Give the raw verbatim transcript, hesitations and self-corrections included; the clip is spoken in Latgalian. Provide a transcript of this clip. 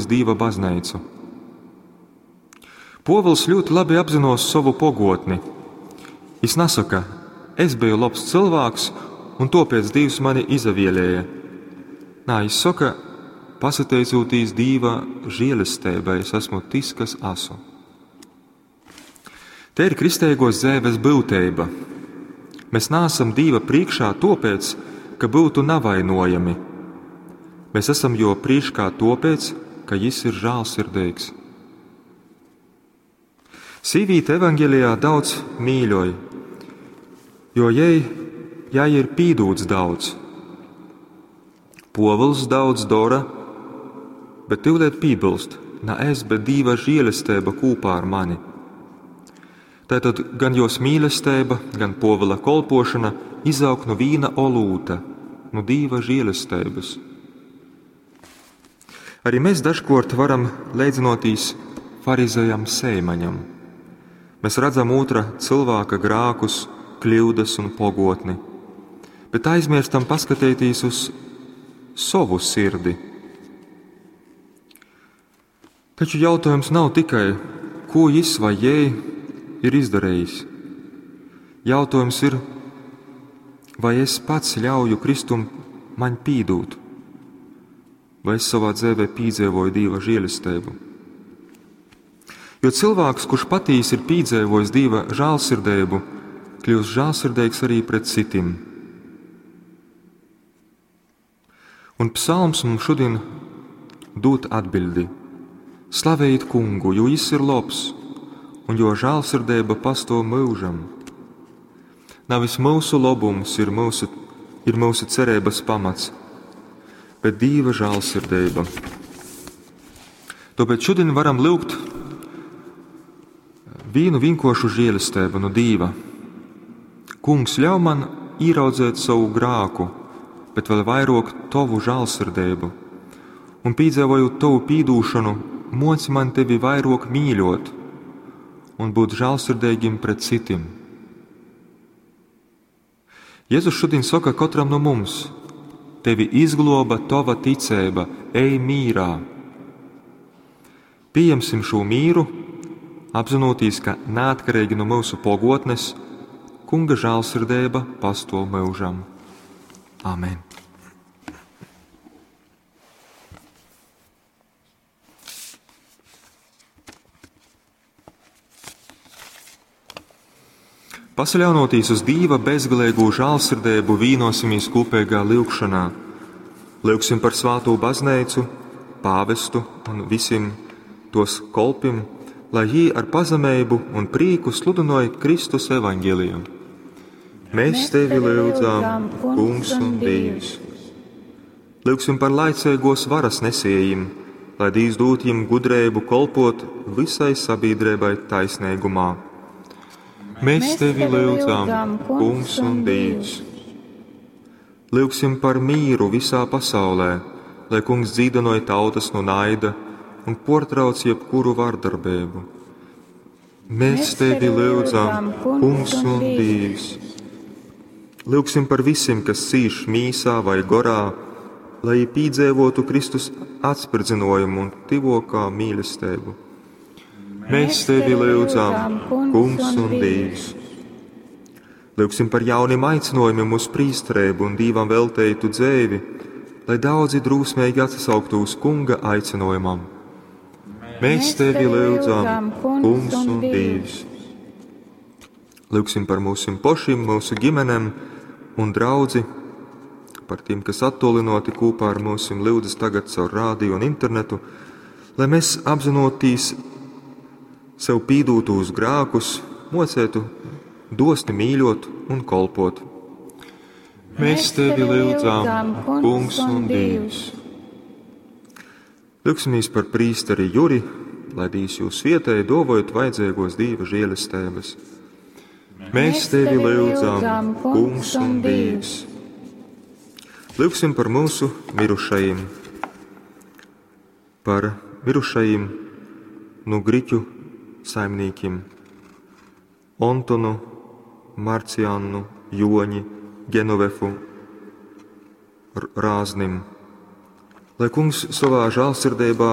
Dīva bazneicu. Pōvils ļūti labi apzinos sovu pogotni. Jis nasoka: es beju lobs cylvāks, un tōpēc Dīvs mani izavielēja. Nā, jis soka: pasateicūtīs Dīva žielesteibai, es esmu tys, kas asu. Te ir kristeigōs dzeives byuteiba. Mēs naasam Dīva prīškā tōpēc, ka byutu navainojami. Mēs esam Jō prīškā tōpēc, ka Jis ir žālsirdeigs. Sīvīte evaņgelijā daudz mīļoj, jo jai, jai ir pīdūts daudz. Pōvils daudz dora, bet tyuleit piebilst: na es, bet Dīva žielesteiba kūpā ar mani. Tātad gan jos mīlesteiba, gan Pōvila kolpošana izaug nu vīna olūta, nu Dīva žielesteibys. Arī mēs dažkort varam leidzinotīs farizejam Seimaņam. Mēs redzam otra cilvēka grākus, kļūdas un pogotni, bet aizmirstam paskatīties uz savu sirdi. Taču jautājums nav tikai, ko jis vai jai ir izdarījis. Jautājums ir, vai es pats ļauju Kristum man pīdūt, vai es savā dzīvē pīdzīvoju Dieva žēlestību. Jo cilvēks, kurš patīsi ir pīdzīvojis Dieva žēlsirdību, kļūst žēlsirdīgs arī pret citiem. Un psalms mums šodien dod atbildi: Slavējiet kungu, jo jis ir labs, un jo žēlsirdība pastāv mūžam. Nevis mūsu labums ir mūsu, ir mūsu cerības pamats, bet Dieva žēlsirdība. Tāpēc šodien varam lūgt vienu vienkāršu žēlastību no Dieva. Kungs, ļauj man ieraudzēt savu grāku, bet vēl vairāk tavu žēlsirdību, un piedzīvojot tavu pīdūšanu, moci man tevi vairāk mīļot un būt žēlsirdīgim pret citiem. Jēzus šodien saka katram no mums: tevi izgloba tava ticība, ej mīrā. Pieņemsim šo mīru, apzinoties, ka neatkarīgi no mūsu pogotnes, Kunga žēlsirdība pastāv mūžam. Amen. Pasaļaunoties uz Dieva bezgalīgo žēlsirdību, vīnosimies kopīgā lūgšanā. Lūgsim par svāto baznīcu, pāvestu un visiem tos kolpim, lai jī ar pazemību un prīku sludinoja Kristus evaņģēliju. Mēs tevi lūdzam, Kungs un Dievs. Lūgsim par laicīgos varas nesējiem, lai Dievs dod jim gudrību kolpot visai sabiedrībai taisnīgumā. Mēs tevi lūdzam, Kungs un Dievs. Lūgsim par mīru visā pasaulē, lai Kungs dzīdinoja tautas no naida un portrauc jebkuru vardarbību. Mēs tevi lūdzam, Kungs un Dievs. Lūgsim par visiem, kas cīš mīsā vai gorā, lai pīdzēvotu Kristus atspridzinājumu un tivokā mīlestību. Mēs tevi lūdzam, Kungs un Dievs. Lūgsim par jauniem aicinājumiem uz prīsterību un Dievam velteitu dzēvi, lai daudzi drūsmīgi atsauktu uz Kunga aicinājumam. Mēs tevi lūdzam, Kungs un Dievs. Lūgsim par mūsu pašiem, mūsu ģimenēm un draudzi, par tiem, kas attolinoti kopā ar mūsim lūdzas tagad caur rādio un internetu, lai mēs apzinotīs sev pīdūtos grākus, mocētu dosni mīļot un kolpot. Mēs tevi lūdzam, Kungs un Dievs. Lūgsimies par prīsteri Juri, lai Dievs jūs svietēja, dovojot vajadzīgos Dieva žēlestības. Mēs tevi lūdzam, Kungs un Dievs. Lūgsim par mūsu mirušajiem, par mirušajiem no griķu saimniekiem Antonu, Marciannu, Joņi, Genovefu, Rāznim. Lai Kungs savā žēlsirdībā